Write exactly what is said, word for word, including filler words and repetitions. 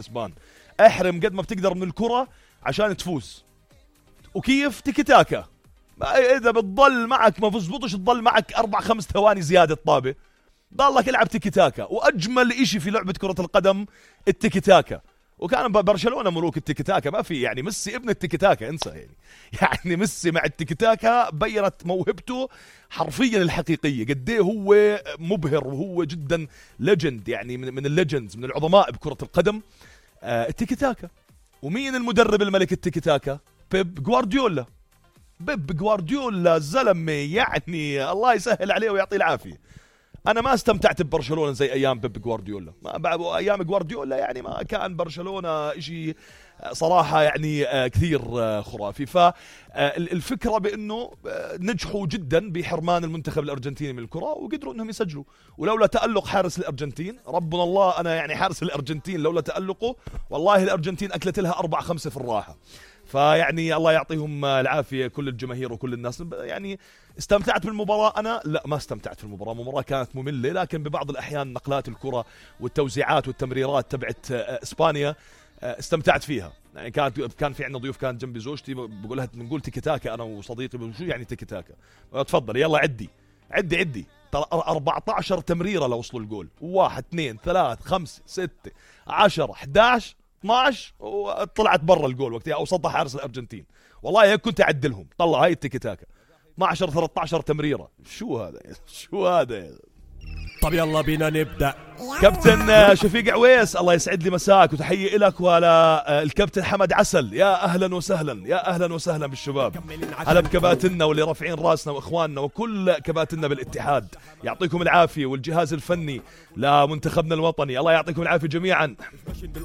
الاسبان. احرم قد ما بتقدر من الكرة عشان تفوز. وكيف؟ تيكي تاكا. اذا بتضل معك ما بزبطش تضل معك اربع خمس ثواني زيادة طابة، ضلك العب تيكي تاكا. واجمل اشي في لعبة كرة القدم التيكي تاكا. وكان برشلونة ملوك التيكي تاكا، ما في يعني ميسي ابن التيكي تاكا، انسى يعني. يعني ميسي مع التيكي تاكا بينت موهبته حرفيا الحقيقية، قديه هو مبهر وهو جدا ليجند، يعني من, من الليجندز، من العظماء بكرة القدم. آه التيكي تاكا. ومين المدرب الملك التيكي تاكا؟ بيب جوارديولا. بيب جوارديولا زلمة يعني الله يسهل عليه ويعطيه العافية. أنا ما استمتعت ببرشلونة زي أيام بيب جوارديولا، ما بعد أيام جوارديولا يعني ما كان برشلونة إشي صراحة يعني كثير خرافي. فالفكرة بأنه نجحوا جدا بحرمان المنتخب الأرجنتيني من الكرة وقدروا أنهم يسجلوا، ولولا تألق حارس الأرجنتين ربنا الله، أنا يعني حارس الأرجنتين لولا تألقه والله الأرجنتين أكلت لها أربعة خمسة في الراحة. فيعني الله يعطيهم العافية كل الجماهير وكل الناس. يعني استمتعت بالمباراة أنا؟ لا ما استمتعت في المباراة، المباراة كانت مملة، لكن ببعض الأحيان نقلات الكرة والتوزيعات والتمريرات تبعت إسبانيا استمتعت فيها. يعني كانت كان في عندنا ضيوف، كانت جنبي زوجتي بقولها بنقول تيكي تاكا أنا وصديقي، شو يعني تيكي تاكا؟ تفضل يلا عدي عدي عدي أربعة عشر تمريرة لوصلوا الجول، واحد اثنين ثلاث خمسة ستة عشرة أحد عشر اثنا عشر وطلعت برا الجول وقتها او صدها حارس الارجنتين. والله هيك كنت اعدلهم، طلع هاي التيكي تاكا اثنا عشر ثلاثة عشر تمريره. شو هذا شو هذا؟ طب يلا بينا نبدا. كابتن شفيق عويس الله يسعد لي مساك وتحيه لك وعلى الكابتن حمد عسل. يا اهلا وسهلا يا اهلا وسهلا بالشباب. هلا بكباتننا واللي رافعين راسنا واخواننا وكل كباتننا بالاتحاد، يعطيكم العافيه، والجهاز الفني لمنتخبنا الوطني الله يعطيكم العافيه جميعا.